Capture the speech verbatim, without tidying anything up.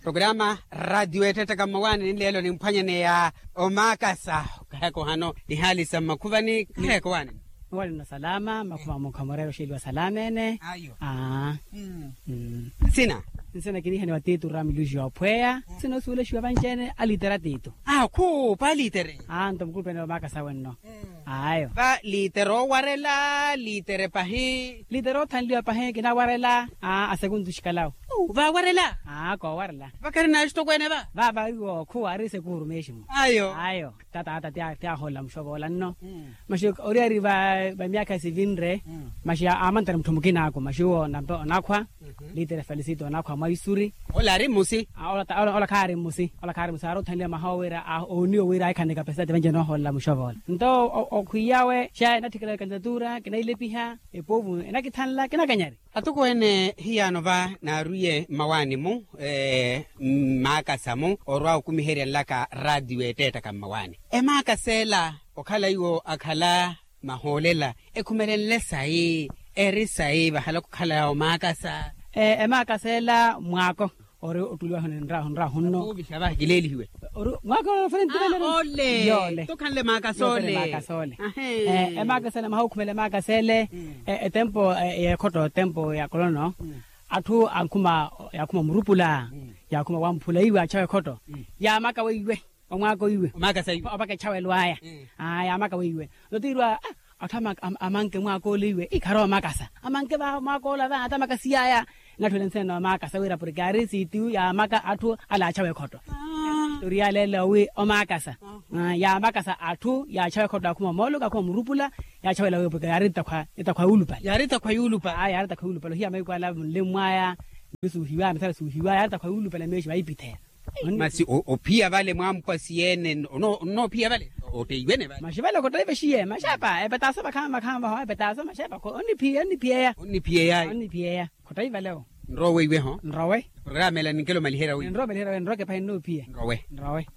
Programa radio etettaka mmawaani ninleelo nimphwanyaneya omaakasa. Okaheko hano nihaali sa mmakhuvani kaheko waani? Owaani nno salama mmakhuvani mukhamureera oxeeliwa salama ene. Ayo. Aa. Nsina? Nsina kinihaniwa tiitu ramiluxi yoophweya. Nsina osuwelexiwa vanci-ene alitere a tiitu. Akhu paalitere. Aa nto mukutweneela omaakasa wenno. Ayo. Va litere owarela litere pahi? Litere othanliwa pahi kinawarela. Aa asekuntu xikalawo. Vawarela. Aa koowarela. Vakharina axitokweene va? Vava iwo khuwa ari sekuuru meximu. Ayo. Ayo. Tata ata ti aholela muxovoola nno. Maxi oriyari va myakha sivinre. Maxi amantere mutthu mukina aku maxi uwo nampe onakhwa. Litere felisito onakhwa mwaisuri. Ola ari mmusi. Ola khaari mmusi. Ola khaari mmusi aari othanliwa maha owira ooniwa wira ahikhane kapesitati venje nooholela muxovoola nto okhwiyawe xa enatthikela kandidatura kinailepiha. Epovu enakithanla kinakanyari. Atokweene hiyaano va naarwiye mmawaani-mu mmaakasa-mu orwa okumiherya nlaka raatiyo eteettaka mmawaani. Emaakasa ela okhala iwo akhala mahoolela ekhumelenle sayi? Eri sayi vahala okhala omaakasa? Emaakasa ela mwaako ori ottuliwa honi nrahu nrahu nno. Ovixa vahi kileelihiwe. Mwaako ofere ntirelero. Ole tokhanle maakasa ole. Emaakasa ele maha okhumela emaakasa ele. Etempo yeekhotto etempo ya kolono atthu ankhuma yaakhuma omurupula. Yaakhuma wamphula iwe achawa ekhotto. Yaamaka weiwe omwaaka oiwe. Opaka echawelo aya. Yaamaka weiwe nottiirwa atthu amanke mwaaka ole iwe ikhara omakasa amanke mwaaka ole ava atamaka siyaya. Natthuwela nsina noomakasa wira porke ari sitiyu yaamaka atthu alaachawa ekhotto. Toriya leelo wi omakasa yaamakasa atthu yaachawa ekhotto akhuma omooluka akhuma omurupula. Yaachawela wi porke yaari etakhwa yuulupale. Yaari etakhwa yuulupale. Ayi yaari etakhwa yuulupale ohiya mahiku ala munle mwaya. Nisuuhiwaya misala suuhiwaya yaari etakhwa yuulupale meexi vayipitheya. Masi ophiya vale mwampwa siyeene? Onnoophiya vale oteiwene vale. Maxi vale khoteivexiye maxepa epetaaso makhama makhama vaho epetaaso maxepa onniphiyaya onniphiyaya. Onniphiyaya khoteivaleo. Nrowe iweho nrowe. Programa ela ninkelo maliherya wi nrowe maliherya wi nrowe kepahi nnoophiye nrowe. Nrowe.